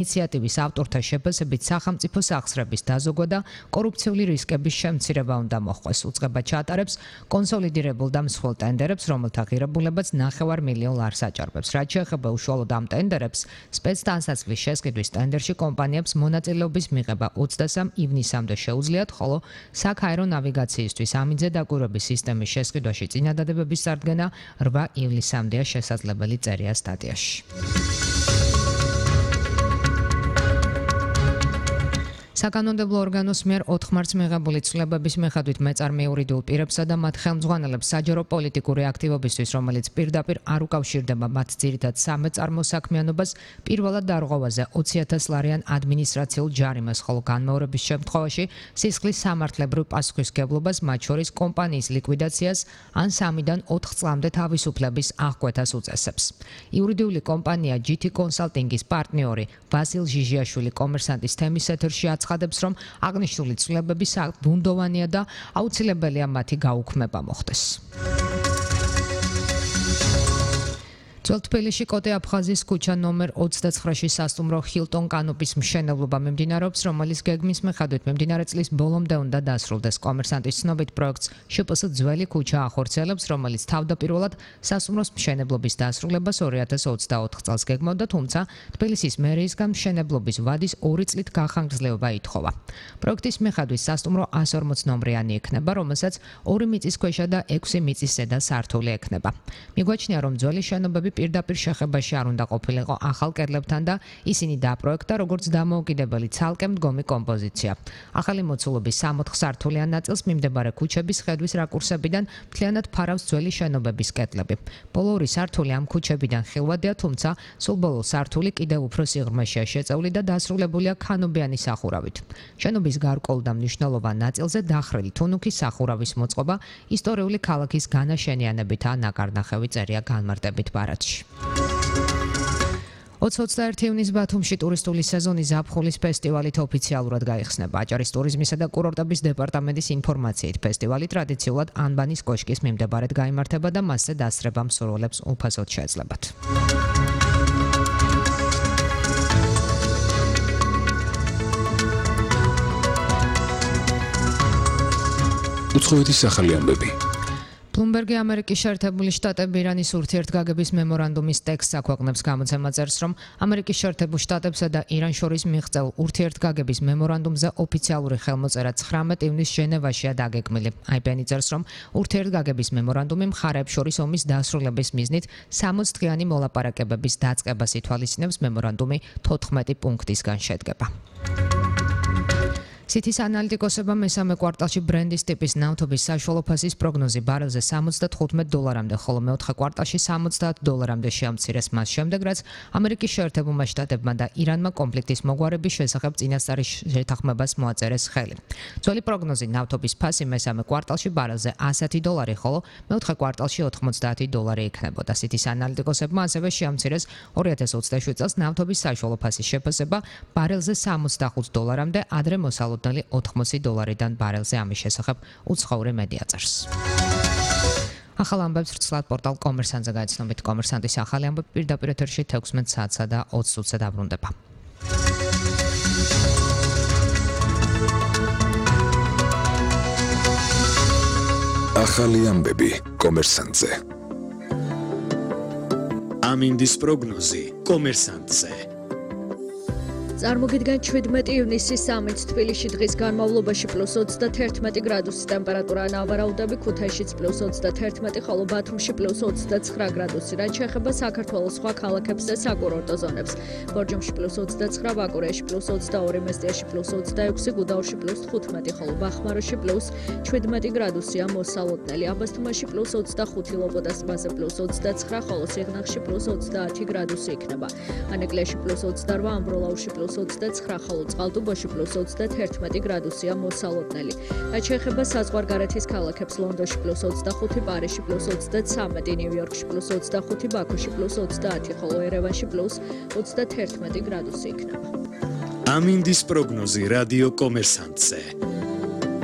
ინიციატივის ავტორთა შეფასებით სახელმწიფო სახსრების დაზოგვა და კორუფციული რისკების შემცირება უნდა მოხდეს. უწყება ჩატარებს კონსოლიდირებულ და მსხვილ ტენდერებს, რომელთა ღირებულებაც 9 მილიონ ლარს აჭარბებს. რაც შეეხება უშუალოდ ამ ტენდერებს, სპეცტანსაცმლის შესყიდვის ტენდერში კომპანიებს მონაწილეობის მიღება 23 ივნისამდე შეუძლიათ, ხოლო საქაერო ნავიგაციისთვის ამიძე დაკვირვების სისტემის შესყიდვაში წინადადებების წარდგენა 8 ივლისამდეა შესაძლებელი, წერია სტატიაში. საკანონმდებლო ორგანოს მიერ 4 მარტს მიღებული ცვლილებების მიხედვით მეწარმე იურიდიულ პირებსა და მათ ხელმძღვანელებს საჯარო პოლიტიკური აქტივობისთვის, რომელიც პირდაპირ არ უკავშირდება მათ ძირითად სამეწარმო საქმიანობას, პირველად დარღვევაზე 20,000 ლარიან ადმინისტრაციულ ჯარიმას, ხოლო განმეორების შემთხვევაში სისხლის სამართლებრივ პასუხისმგებლობას, მათ შორის კომპანიის ლიკვიდაციას ან 3-დან 4 წლამდე თავისუფლების აღკვეთას უწესებს. იურიდიული კომპანია GT კონსალტინგის პარტნიორი ვასილ ჟიჟიაშვილი კომერსანტის თემის ეთერში აცხადებს, რომ აღნიშნული ცვლილებები ბუნდოვანია და აუცილებელია მათი გაუქმება მოხდეს. ძველ თბილისში კოტე აფხაზის ქუჩა ნომერ 29-ში სასტუმრო ჰილტონ კანოპის მშენებლობა მიმდინარეობს, რომელიც გეგმის მიხედვით მიმდინარე წლის ბოლომდე უნდა დასრულდეს. კომერსანტის ცნობით პროექტს შპს ძველი ქუჩა ახორციელებს, რომელიც თავდაპირველად სასტუმროს მშენებლობის დასრულებას 2024 წელს გეგმავდა, თუმცა თბილისის მერიისგან მშენებლობის ვადის 2 წლით გახანგრძლივება ითხოვა. პროექტის მიხედვით სასტუმრო 140 ნომრიანი იქნება, რომელსაც 2 მიწისქვეშა და 6 მიწის ზედა სართული ექნება. მიგვაჩნია, რომ ძველი შენობები პირდაპირ შეხებაში არ უნდა ყოფილიყო ახალ კედლებთან და ისინი დაპროექტა როგორც დამოუკიდებელი ცალკე მდგომი კომპოზიცია. ახალი მოცულობის 64 სართულიან ნაწილს მიმდებარე ქუჩების ხედვის რაკურსებიდან მთლიანად ფარავს ძველი შენობების კედლები. ბოლო 2 სართული ამ ქუჩებიდან ხილვადია, თუმცა სულ ბოლო სართული კიდევ უფრო სიღრმეშია შეწეული და დასრულებულია ქანობიანი სახურავით. შენობის გარკვეულ და მნიშვნელოვან ნაწილზე დახრილი თუნუქის სახურავის მოწყობა ისტორიული ქალაქის განაშენიანებითაა ნაკარნახევი, წერია განმარტებით ბარათში. 21 ივნის ბათუმში ტურისტული სეზონი ზაფხულის ფესტივალით ოფიციალურად გაიხსნება. აჭარის ტურიზმისა და კურორტების დეპარტამენტის ინფორმაციით, ფესტივალი ტრადიციულად ანბანის კოშკის მიმდებარედ გაიმართება და მასზე დასწრება მსურველებს უფასოდ შეეძლებათ. უცხოეთის ახალი ამბები. ბლუმბერგი ამერიკის შეერთებული შტატები ირანის ურთიერთგაგების მემორანდუმის ტექსტს აქვეყნებს. გამოცემა წერს, რომ ამერიკის შეერთებულ შტატებსა და ირანს შორის მიღწეულ ურთიერთგაგების მემორანდუმზე ოფიციალური ხელმოწერა 19 ივნის ჟენევაშია დაგეგმილი. IPN წერს, რომ ურთიერთგაგების მემორანდუმი მხარეებს შორის ომის დასრულების მიზნით 60 დღიანი მოლაპარაკებების დაწყებას ითვალისწინებს. მემორანდუმი 14 პუნქტისგან შედგება. სითის ანალიტიკოსებმა მესამე კვარტალში ბრენდის ტიპის ნავთობის საშუალო ფასის პროგნოზი ბარელზე $75-მდე, ხოლო მეოთხე კვარტალში $60-მდე შეამცირეს მას შემდეგ, რაც ამერიკის შეერთებულმა შტატებმა და ირანმა კონფლიქტის მოგვარების შესახებ წინასწარი შეთანხმებას მოაწერეს ხელი. ძველი პროგნოზი ნავთობის ფასი მესამე კვარტალში ბარელზე $100, ხოლო მეოთხე კვარტალში $90 იქნებოდა. სითის ანალიტიკოსებმა ასევე შეამცირეს 2027 წელს ნავთობის საშუალო ფასის შეფასება ბარელზე $65-მდე, ადრე მოსალოდნელი $80-დან ბარელზე. ამის შესახებ უცხოური მედია წერს. ახალ ამბებს ვრცლად პორტალ კომერსანტზე გაიცნობით. კომერსანტის ახალი ამბები პირდაპირ ეთერში 16 საათსა და 20 წუთზე დაბრუნდება. ახალი ამბები კომერსანტზე. ამინდის პროგნოზი კომერსანტზე. წარმოგიდგენ 17 ივნისის სამინც თბილისში დღის განმავლობაში +21 გრადუსი ტემპერატურა ნავარაუდები, ქუთაისშიც +21, ხოლო ბათუმში +29 გრადუსი. რაც შეეხება საქართველოს სხვა ქალაქებს და საკურორტო ზონებს. ბორჯომში +29, ბაკურიაში +22, მესტიაში +26, გუდაურში +15, ხოლო ბახმაროში +17 გრადუსია მოსალოდნელი. აბასთუმანში +25, ლობოდას ტბაზე +29, ხოლო სიღნაღში +30 გრადუსი იქნება. ანეკლიაში +28, ამბროლაურში +29, ხოლო წყალტუბოში +31 გრადუსია მოსალოდნელი. რაც შეეხება საზღვარგარეთის ქალაქებს, ლონდონში +25, პარიზში +33, ნიუ-იორკში +25, ბაქოში +30, ხოლო ერევანში +31 გრადუსი იქნება. ამინდის პროგნოზი რადიო კომერსანტზე.